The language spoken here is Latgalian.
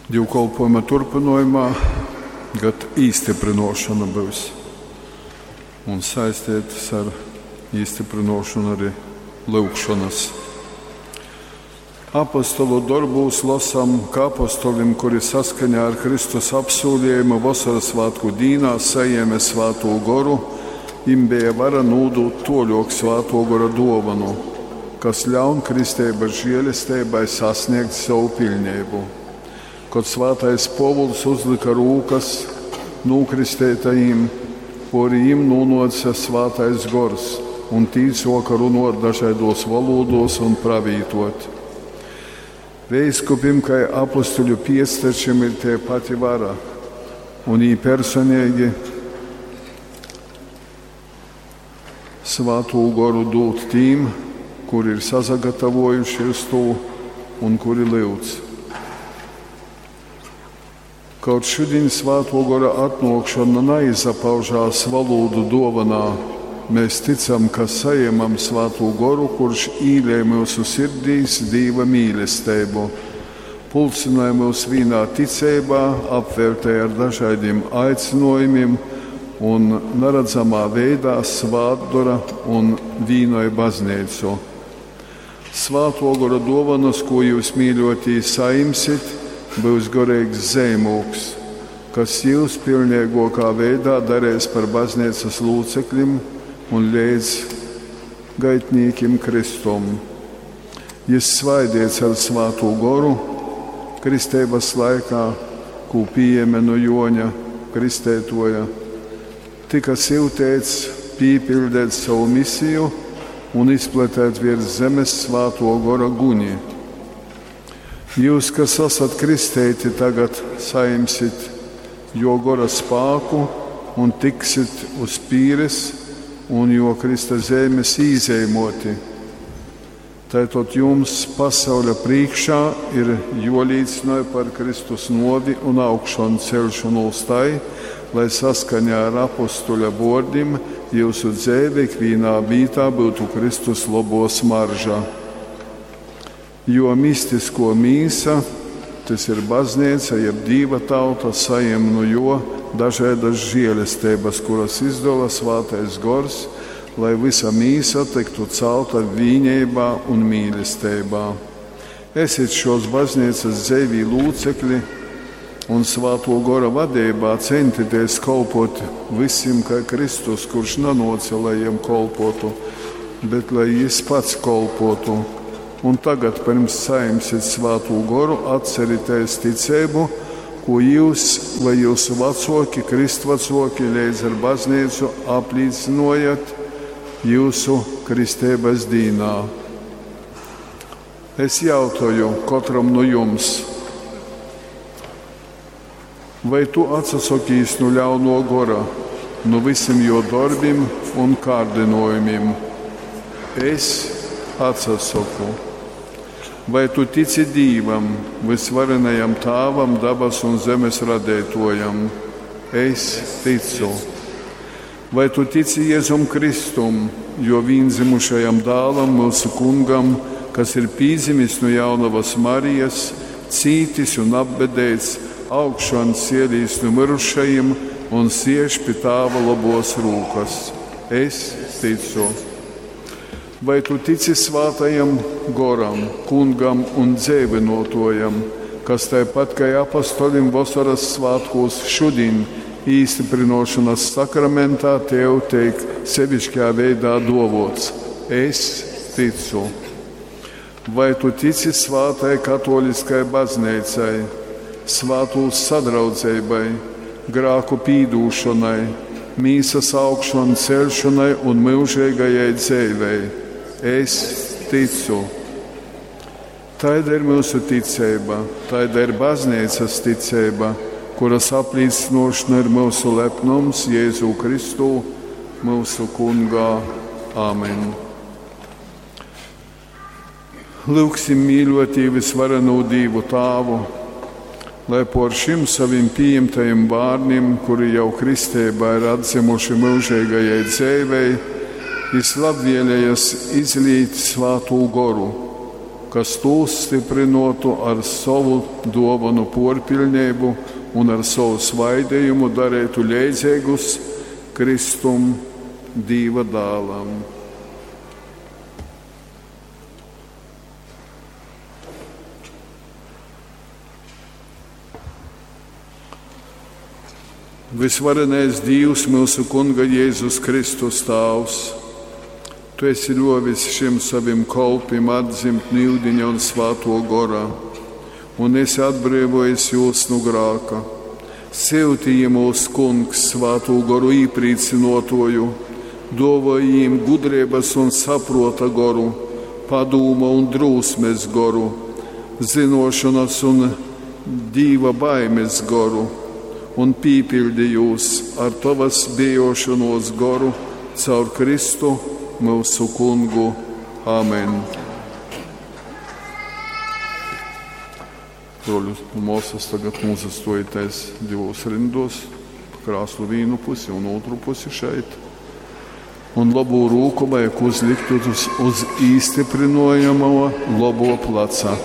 Dīvkolpojuma turpynojumā gad īstyprynuošona byus un saisteitys ar īstyprynuošonu arī lyugšonys. Apostolu dorbūs losam, ka apostolim, kuri saskaņā ar Kristus apsūliejumu Vosorasvātku dīnā sajēme Svātū Goru, jim beja vara nūdūt tuoļuok Svātuo Gora duovonu, kas ļaun kristeibys žielesteibai sasnēgt sovu piļneibu. Kod svātais Puovuls uzlyka rūkas nūkristeitajim, puori jim nūnuoce Svātais Gors, un tī suoka runuot dažaiduos volūduos un pravītuot. Veiskupim kai apostuļu piectečim ir tei pati vara, un jī personeigi Svātū Goru dūd tīm, kuri ir sasagatavojuši uz tū un kuri lyudz. Kaut šudiņ Svātuo Gora atnuokšona naizapaužās volūdu duovanā, mēs ticam, ka sajemam Svātū Goru, kurš īlej myusu sirdīs Dīva mīlesteibu, pulcynoj myus vīnā ticeibā, apveltej ar dažaidim aicynuojumim un naradzamā veidā svātdora un vīnoj bazneicu. Svātuo Gora duovanas, kū jius, mīļuotī, sajimsit, byus goreigs zeimūgs, kas jius piļneiguokā veidā dareis par bazneicys lūceklim un leidzgaitnīkim Kristum. Jis svaideits ar Svātū Goru kristeibys laikā, kū pījēme nu Juoņa Kristeituoja, tyka syuteits pīpiļdeit sovu misiju un izplateit viers zemes Svātuo Gora guni. Jius, kas asat kristeiti, tagad sajimsit juo Gora spāku un tiksit uz pīres un juo Krysta zeimes īzeimuoti. Taitod jums pasauļa prīškā ir juolīcynoj par Kristus nuovi un augšonceļšonūs tai, lai saskaņā ar apostuļa vuordim jiusu dzeive ikvīnā vītā byutu Kristus lobuo smarža. Jo mistiskuo mīsa, tys ir bazneica, jeb Dīva tauta, sajem nu juo dažaidys žielesteibys, kuras izdola Svātais Gors, lai vysa mīsa tyktu calta vīneibā un mīlesteibā. Esit šuos bazneicys dzeivī lūcekli un Svātuo Gora vadeibā ceņtitēs kolpuot vysim kai Kristus, kurš nanuoce, lai jiem kolpuotu, bet lai jis pats kolpuotu. Un tagad, pyrms sajimsit Svātū Goru, atceritēs ticeibu, kū jius vai jiusu vacuoki, krystvacuoki leidz ar bazneicu aplīcynojat jiusu kristeibys dīnā. Es jautoju kotram nu jums, vai tu atsasokīs nu ļaunuo gora, nu vysim juo dorbim un kārdynojumim? Es atsasoku. Vai tu tici Dīvam, vysvarenajam Tāvam, dabasu un zemes radeituojam? Es ticu. Vai tu tici Jēzum Kristum, juo vīndzymušajam dālam, myusu kungam, kas ir pīdzimis nu jaunovas Marijas, cītis un apbedeits, augšancielīs nu myrušajim un siež pi Tāva lobuos rūkas? Es ticu. Vai tu tici Svātajam Goram, Kungam un dzeivynuotuojam, kas taipat kai apostolim Vosoras svātkūs šudiņ īstyprynuošonys sakramentā tev teik seviškā veidā duovuots? Es ticu. Vai tu tici svātai katoliskai bazneicai, svātūs sadraudzeibai, grāku pīdūšonai, mīsas augšonceļšonai un myužeigajai dzeivei? Es ticu. Taida ir myusu ticeiba, taida ir bazneicas ticeiba, kuras aplīcynuošona ir myusu lepnums Jēzū Kristū, myusu Kungā. Āmen. Lyugsim mīļuotī vysvarenū Dīvu Tāvu, lai por šim savim pījimtajim bārnim, kuri jau kristeibā ir atdzymuši myužeigajai dzeivei, jis labvielejas izlīt Svātū Goru, kas tūs styprynōtu ar sovu dōvonu pōrpiļneibu un ar sovu svaidejumu dareitu leidzeigus Kristum, Dīva Dālam. Vysvarenais Dīvs, myusu Kunga Jēzus Kristus Tāvs, Tu esi ļōvis šim sovim kolpim atdzimt nu yudiņa un Svātō Gora, un esi atbreivōjis jūs nu grāka. Syuti jymūs, Kungs, Svātū Goru īprīcynōtōju, dōvoj jim gudreibas un saprōta goru, padūma un drūsmes goru, zynōšonas un Dīva baimes goru, un pīpiļdi jūs ar tovas bijōšonōs goru caur Kristu, myusu Kungu. Amen. Broļus un mōsas, tagad nūsastōjitēs divos rindos, pa krāslu vīnu pusi un otru pusi šeit. Un labū rūku vajag uzlikt uz, uz īstyprinojamo labo placa.